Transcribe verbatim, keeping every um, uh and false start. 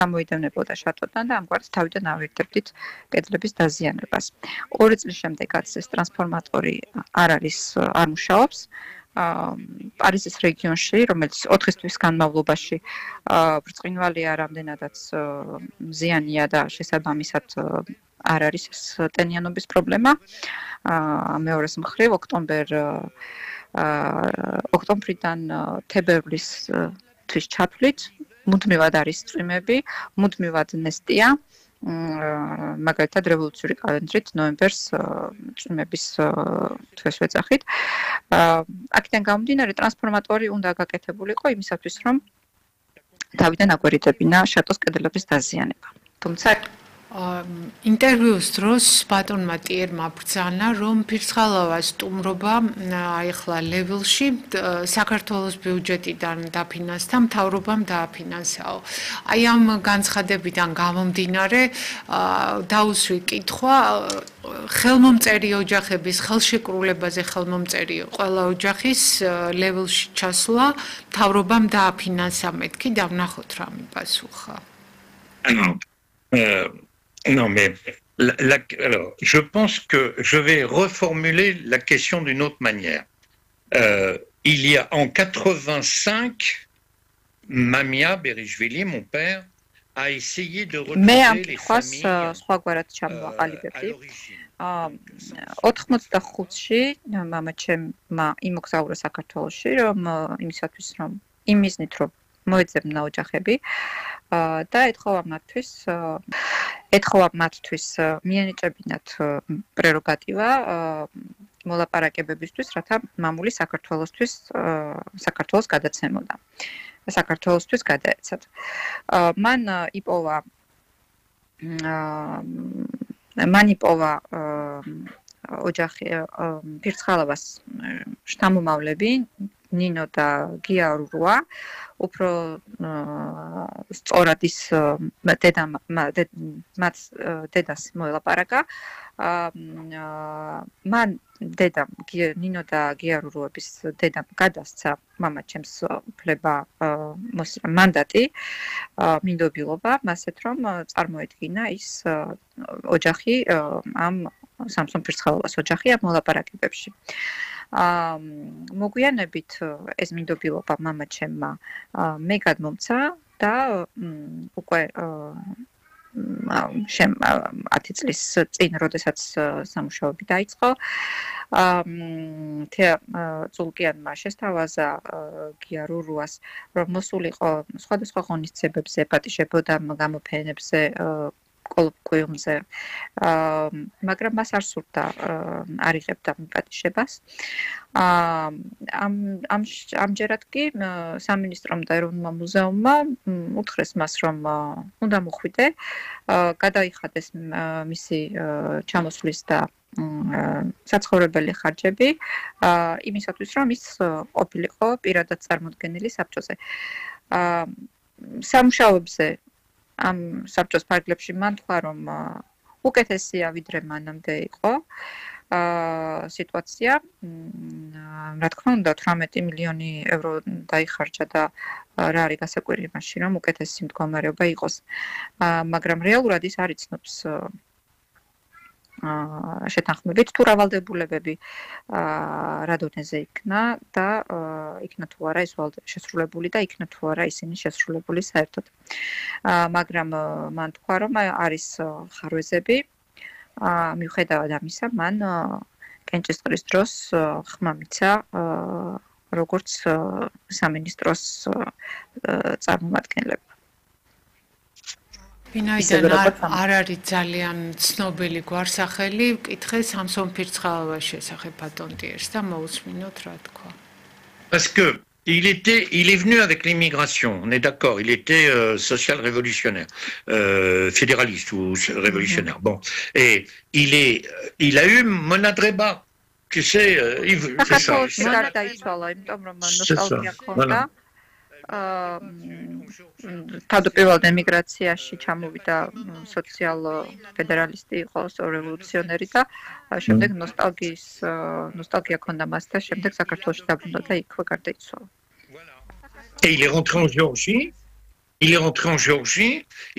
გამოიდევნებოდა შატოდან და ამგვარად თავიდან ავირდებდით კედლების დაზიანებას. ორი წლის შემდეგაც ეს ტრანსფორმატორი არ არის არ მუშაობს. პარიზის რეგიონში, რომელიც ოთხი თვის განმავლობაში ბრწყინვალეა, რამდენადაც მზიანია და შესაბამისად არ არის ეს ტენიანობის პრობლემა. მეორეს მხრივ ოქტომბერ ოქტომბრიდან თებერვლის თვის ჩათვლით მუდმივად არის წვიმები, მუდმივად ნესტია. მაგალითად რევოლუციური კალენდრით ნოემბერს წვიმების თვეს ვეძახით. აქედან გამომდინარე ტრანსფორმატორი უნდა გაკეთებულიყო იმისათვის, რომ თავიდან აგვერიდებინა შატოს კედლების დაზიანება. თუმცა ინტერვიუს დროს ბატონმა ტიერმა ბრძანა, რომ ფირცხალავას სტუმრობა ახლა ლეველში საქართველოს ბიუჯეტიდან დაფინანსდა, მთავრობამ დააფინანსაო. აი ამ განცხადებიდან გამომდინარე დაუსვი კითხვა ხელმომწერი ოჯახების ხელშეკრულებაზე ხელმომწერი ყველა ოჯახის ლეველში ჩასვლა მთავრობამ დააფინანსა მეთქი დავნახოთ რა მიპასუხა. Non, mais la, la, alors, je pense que je vais reformuler la question d'une autre manière. Euh, il y a en quatre-vingt-cinq, Mamia Berishvili, mon père, a essayé de retrouver les familles euh, à l'origine. ოთხმოცდახუთში მამაჩემმა იმოგზაურა საქართველოში, რომ იმისათვის, რომ იმიზნით, რომ მოეძებნა ოჯახები და ეთხოვა მათთვის ეთხოვა მათთვის მიენიჭებინათ პრეროგატივა მოლაპარაკებებისთვის, რათა მამული საქართველოსთვის საქართველოს გადაცემოდა. საქართველოსთვის გადაეცათ. მან იპოვა მან იპოვა ოჯახი ფირცხალავას შთამომავლები ნინო და გიარურვა უფრო სწორად ის დედა მათ დედას მოელაპარაკა. მან დედამ ნინო და გიარურუების დედამ გადასცა მამაჩემს უფლება მანდატი მინდობილობა მასეთ რომ წარმოედგინა ის ოჯახი ამ სამსონ ფირცხალავას ოჯახი ამ მოლაპარაკებებში. მოგვიანებით ეს მინდობილობა მამაჩემმა მე გადმომცა და უკვე შემ ათი წლის წინ, როდესაც სამუშაოები დაიწყო, წულკიანმა შესთავაზა გიარურუას, რომ მოსულიყო სხვადასხვა ღონისძიებებზე, პატიჟებოდა გამოფენებზე, კოლოკვიუმზე, მაგრამ მას არ სურდა არ იღებდა პატიჟებას. ამ ამჯერად კი სამინისტრომ და ეროვნულმა მუზეუმმა უთხრეს მას, რომ უნდა მოხვიდე, გადაიხადეს მისი ჩამოსვლის და საცხოვრებელი ხარჯები იმისათვის, რომ ის ყოფილიყო პირადად წარმოდგენილი საბჭოზე. სამუშაოებზე ამ საბჭოს ფარგლებში მან თქვა, რომ უკეთესია ვიდრე მანამდე იყო სიტუაცია. რა თქმა უნდა, თვრამეტი მილიონი ევრო დაიხარჯა და რა არის გასაკვირი იმაში, რომ უკეთესი მდგომარეობა იყოს. მაგრამ რეალურად ის არ იცნობს შეთანხმებით თუ რა ვალდებულებები რა დონეზე იქნა და იქნა თუ არა ეს შესრულებული და იქნა თუ არა ისინი შესრულებული საერთოდ. მაგრამ მან თქვა, რომ არის ხარვეზები, მიუხედავად ამისა, მან კენჭისყრის დროს ხმა მიცა როგორც სამინისტროს წარმომადგენლებს. ვინაიდან არ არის ძალიან ცნობილი გვარსახელი, ვკითხე სამსონ ფირცხალავას შესახებ ბატონ ტიერს და მოусმინოთ რა თქვა. Parce que il était il est venu avec l'immigration, on est d'accord, il était euh, social-révolutionnaire, euh, fédéraliste ou révolutionnaire. Mm-hmm. Bon, et il est il a eu Monadreba, tu sais, euh, il, c'est ça. C'est ça. Voilà. თავდაპირველად ემიგრაციაში ჩამოვიდა სოციალ-ფედერალისტი იყო, რევოლუციონერი და შემდეგ ნოსტალგიის ნოსტალგია ჰქონდა მას და შემდეგ საქართველოში დაბრუნდა და იქვე გარდაიცვალა. Et il est rentré en Géorgie. Il est rentré en Géorgie